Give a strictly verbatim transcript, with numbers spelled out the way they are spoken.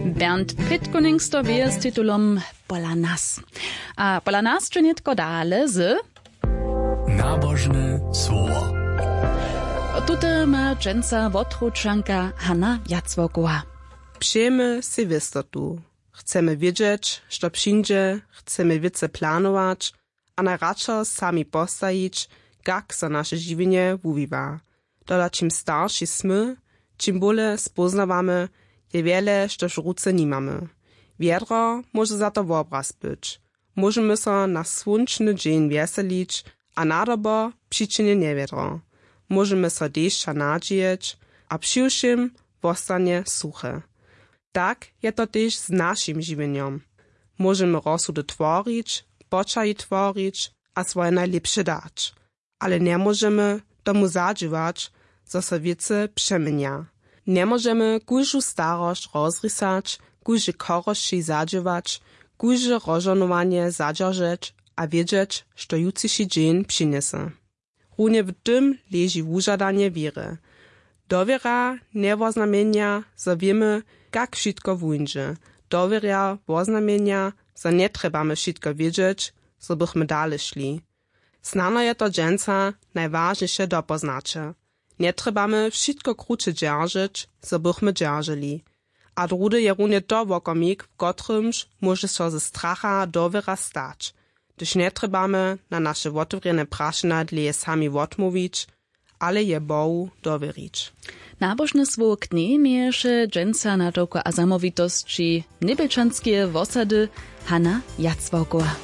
Bernd Pitkuning sto wěje z titulom Pola nas. A pola nas dźe nětko dale z Nabožne słowo. Tute ma dźensa wotručanka Hanna Jacwokowa. Přejemy sej wěstotu. Chcemy wědźeć, što přińdźe, chcemy wěcy planować a najradšo sami postajić, kak so naše žiwjenje wuwiwa. Tola čim starši smy, čim bóle spóznawamy, je wjele štož w ruce nimamy. Wjedro móže za to wobraz być. Móžemy so na słónčny dźeń wjeselić, a nadobo přičinje njewjedro. Móžemy so dešća nadźijeć, a přiwšěm wostanje suche. Tak je to tež z našim žiwjenjom. Móžemy rozsudy tworić, poćahi tworić a swoje najlěpše dać. Ale njemóžemy tomu zadźěłać, zo so wěcy přeměnja. Njemóžemy kóždu starosć rozrisać, kóždej chorosći zadźěłać, kóžde rozžohnowanje zadźeržeć a wědźeć, što jutřiši dźeń přinjese. Runje w tym leži wužadanje wěry. Dowěra njewoznamjenja, zo wěmy, kak wšitko wuńdźe. Dowěra woznamjenja, zo njetrjebamy wšitko wědźeć, zo bychmy dale šli. Snano je to dźensa najwažniše dopoznaće. Njetrjebamy wšitko kruće dźeržeć, zo bychmy dźerželi. A druhdy je runje to wokomik, w kotrymž móže so ze stracha dowěra stać, hdyž njetrjebamy na naše wotewrjene prašenja dlěje sami wotmołwić, ale je Bohu dowěrić. Nabožne słowo k njej měješe dźensa na tołko a zamołwitosći njebjelčanskeje wosady Hanna Jacwałkowa.